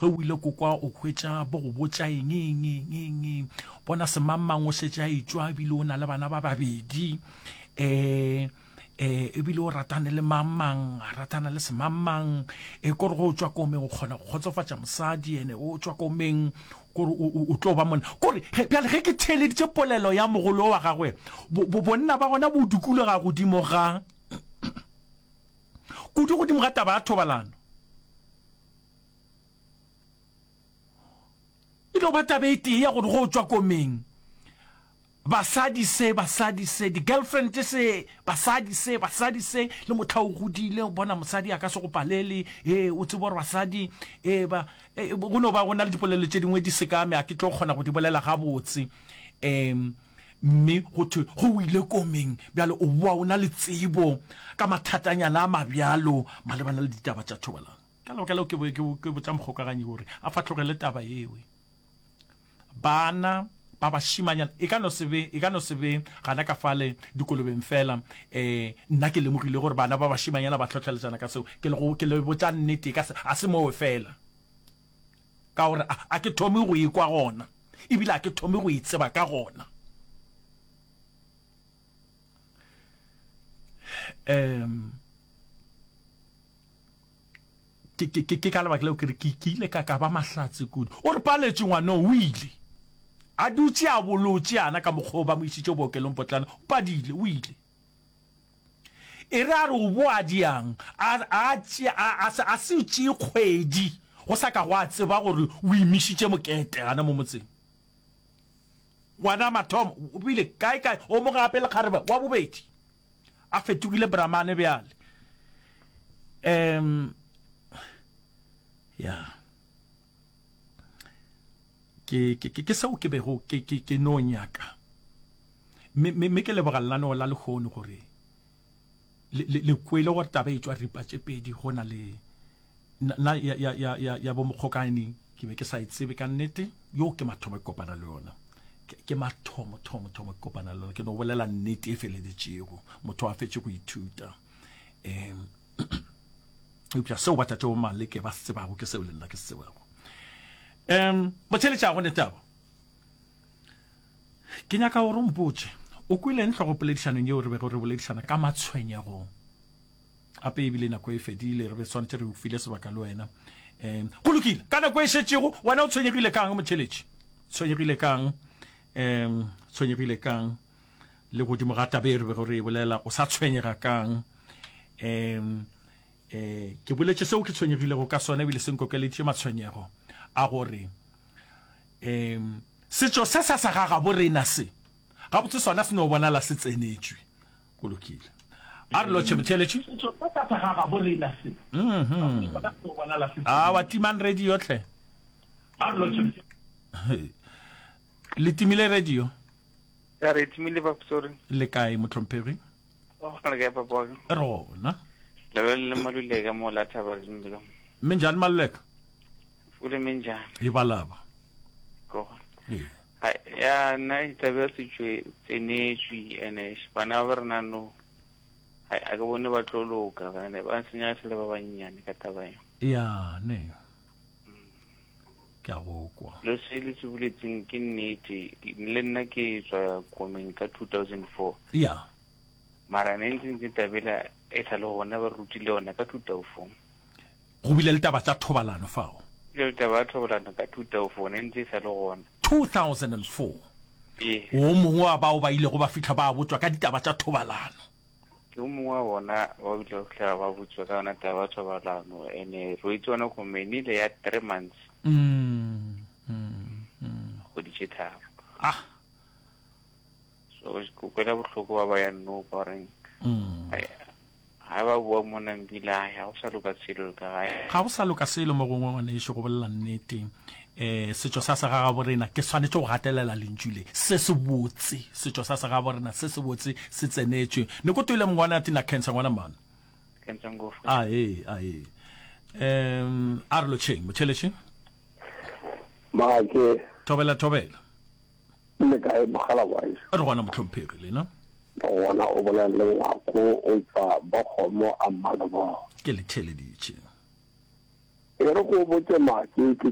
Ge o ile ko kwa o hwetša bo go botša eng, eng, eng, eng, eng. Bona semangmang o šetše a etšwa ebile o na le bana ba babedi. Um um ebile o ratane le mangmang, a ratana le semangmang. E kore ge o tšwa komeng o kgona go kgotsofatša mosadi, ene o tšwa komeng kore o tlo ba monna. Kore bjale ge ke theeleditše polelo ya mogolo wa gagwe, bonna ba gona bo dukologa godimo ga kudu godimo ga taba ya thobalano. E no ba taba e tee ya gore go tšwa komeng, basadi se, basadi se, di-girlfriend se, basadi se, basadi se, le mohla o godile o bona mosadi a ka se go palele, ee, o tsebe gore basadi, ee, ba, ee, go no ba go na le dipolelo tše dingwe di sekame, a ke tlo kgona go di bolela gabotse. Um, mme go thwe go o ile komeng, bjale o boa o na le tsebo ka mathatanyana a mabjalo malebana le ditaba tša thobalano. Ka lebaka leo ke, ke, ke botša mokgokaganyi gore a fahlogele taba yeo. Bana ba bašimanyana e ka no se be, e ka no se be gana ka fale dikolobeng fela. Eh, nna ke lemogile gore bana ba bašimanyana ba hlohleletšana ka seo. Ke le go, ke le botša nnete, e ka se, a se moo fela. Ka gore a, a ke thome go e kwa gona, ebile a ke thome go e tseba ka gona. Um, ke, ke, ke, ke ka lebaka leo ke re ke, ke ile ka ka ba mahlatse kudu. O re paletše ngwanoo, o ile. A dutše a bolotše yana ka mokgwa o ba mo išitše bookelong potlana, o padile, o ile. E re a re o boa diang, a, a tšea, a, a, a se tšee kgwedi go sa ka gwa tseba gore o imišitše mokete gana mo motseng. Ngwana mathomo o bile kae kae, o mo gape lekgarebe wa bobedi. A fetogile Brahmane bjale. Um, ya. Ke, ke, ke, ke seo ke bego ke, ke, ke no nyaka. Mme, mme, mme ke leboga lenaneo la lehono gore le, le, le kwele gore taba e tšwa ripa tše pedi go na le na ya, ya, ya, ya, ya bomokgokane ke be ke sa e tsebe ka nnete. Yo ke mathomo ke kopana le yona. Ke, ke mathomo, thomo, thomo ke kopana le yona. Ke no bolela nnete e feleletšego. Motho a fetše go ithuta. Um, eupša seo ba tate bo Maleke ba se tsebago ke seo le nna ke se tsebago. Um, botheletša go ne taba. Ke nyaka gore o mpotše, o kwele eng hlogopoledišanong yeo re bego re boledišana ka matshwenyego? Gape ebile nako e fedile, re be swanetše re o file sebaka le wena. Um, go lokile, ka nako e šetšego, wena o tshwenyegile kang, motheletši? Tshwenyegile kang? Um, tshwenyegile kang? Le godimo ga taba e re bego re e bolela, o sa tshwenyega kang? Um, eh, ke boletše seo ke tshwenyegilego ka sona ebile se nkokeleditše matshwenyego a gore um setšo se sa sa ga gabo rena se gabotse sona se no bonala se tsenetšwe. Go lokile. A re lotšhe motheeletši. Setšo se sa sa ga gabo rena se gabotse sona se no bonala se tsenetšwe. Awa timang radio hle. A re lotšhe. Le timile radio? Ya re timile papa sorry. Le kae mohlomphegi? Oh, le kae papa wa ka? Re gona. Le le Maluleka mo la thaba le. Minjani Maluleka? Fule minjani? E balaba. Go. Ee. Ya nna taba ya setšo e tsenetšwe ene bana ba rena no a ke bone ba tlo loka bane ba senya se le ba bannyane ka taba eo. Ya ne. Ke a go kwa. Lo se le se boletseng ke nnete le nna ke tswa komeng ka 2004. Ya. Mara ne ntse ntse tabela e sa le gona ba rutile yona ka 2004. Go bile le taba tša thobalano fao. Bile le taba ya thobalano ka 2004 ne ntse e sa le gona. 2004. Ee. O mongwe wa bao ba ilego ba fihla ba botšwa ka ditaba tša thobalano. Ke o mongwe wa bona ba ile ba fihla ba botšwa ka yona taba ya thobalano ene re itse yona komeni ile ya 3 months. Mm. Mm. Mm. Kgwedi tše tharo. Ah. So ke kwela bohloko ba ba ya no ba reng. Mm. Ga ba boa mo Nambila, ga go sa loka selo ka gae. Ga go sa loka selo mo gongwe ngwanešu, go bolela nnete. Um setšo sa segagaborena, ke swanetše go gatelela lentšu le, se sebotse, setšo sa segaborena se sebotse se tsenetšwe. Ne ko toile mongwana tina cancer ngwana mano. Cancer ngofo. Ae, ae. Um a re lotšheng, motheletši. Maake. Thobela, thobela. Le kae mogala wa gešo? Re gona mohlomphegi, lena? Re gona, o bolela le Ngwako o tšwa Bokgomo a Mmalebogo. Ke le theeleditše. E re ko botše Make, ke.